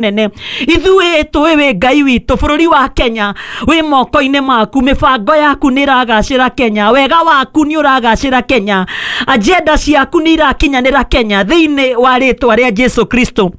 Nene ithuĩ tũĩ wĩ Ngai witũ. Bũrũri wa Kenya wĩ moko-inĩ maku, mĩbango yaku nĩ ĩragacĩra Kenya, wega waku nĩ ũragacĩra Kenya, agenda ciaku nĩ irakinyanĩra Kenya, thĩinĩ wa rĩtwa rĩa Jesu Kristo.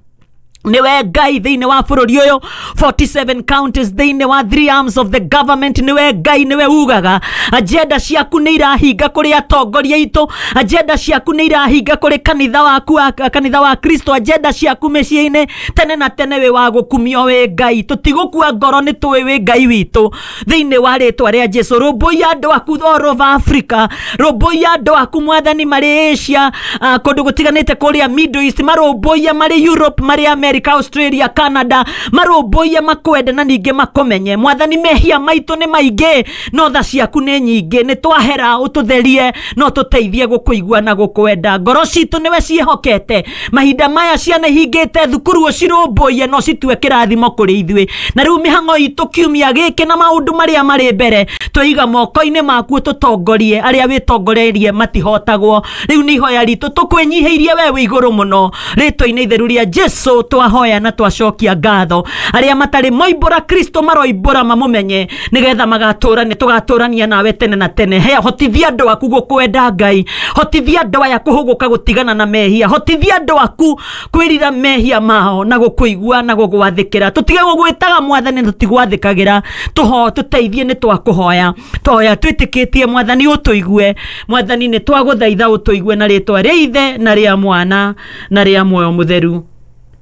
Niwe Ngai thĩinĩ wa bũrũri ũyũ, 47 counties, thĩinĩ wa three arms of the government. Niwe Ngai, niwe ugaga agenda ciaku nĩ irahinga kũrĩ atongoria aitũ, agenda ciaku nĩ irahinga kũrĩ kanitha waku kanitha wa Kristo, agenda ciaku mĩciĩ-inĩ. Tene na tene wĩ wa gũkumio, wĩ Ngai. Tũtigũkua ngoro, nĩ tũĩ wĩ Ngai witũ, thĩinĩ wa rĩtwa rĩa Jesu. Rũmbũiya andũ aku all over Africa, rũmbũiya andũ aku, Mwathani, marĩ Asia, kũndũ gũtiganĩte kũrĩa Middle East, marũmbũiya marĩ Europe, marĩ America, Australia, Canada, marũmbũiye makwende na ningĩ makũmenye. Mwathani, mehia maitũ nĩ maingĩ, no tha ciaku nĩ nyingĩ. Nĩ twahera, ũtũtherie no tũteithie gũkũigua na gũkwenda. Ngoro citũ nĩwe ciĩhokete mahinda maya. Ciana ihingĩte thukuru, ũcirũmbũiye no citue kĩrathimo kũrĩ ithuĩ. Na rĩu mĩhang'o itũ kiumia gĩkĩ na maũndũ marĩa marĩ mbere twĩiga moko-inĩ maku, tũtongorie. Arĩa wĩtongoreirie matihotagwo. Rĩu nĩ ihoya ritũ tũkwĩnyihĩirie we wĩ igũrũ mũno, rĩtwa-inĩ itheru rĩa Jesu twahoya na twacokia ngatho. Arĩa matarĩ moimbũra Kristo maroimbũra mamũmenye, nĩgetha magatũrania, tũgatũrania nawe tene na tene. He hotithia andũ aku gũkwenda, Ngai. Hotithia andũ aya kũhũgũka gũtigana na mehia. Hotithia andũ aku kwĩrira mehia mao na gũkũigua na gũgwathĩkĩra. Tũtige gũgwĩtaga Mwathani na tũtigwathĩkagĩra. Tũho tũteithie, nĩ twakũhoya, twahoya twĩtĩkĩtie, Mwathani, ũtũigue. Mwathani, nĩ twagũthaitha ũtũigue, na rĩtwa rĩa Ithe na rĩa Mwana na rĩa Muoyo Mũtheru,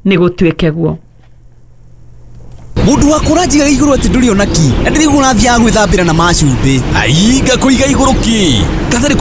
nĩ gũtuĩke guo. Mundu wa kũranjigaga igũrũ atĩ ndũrĩ ona ki, na ndĩrĩguo ũrathiaga gwĩthambĩra na macumbĩ. Ai, ngakũiga igũrũ ki gatarĩ.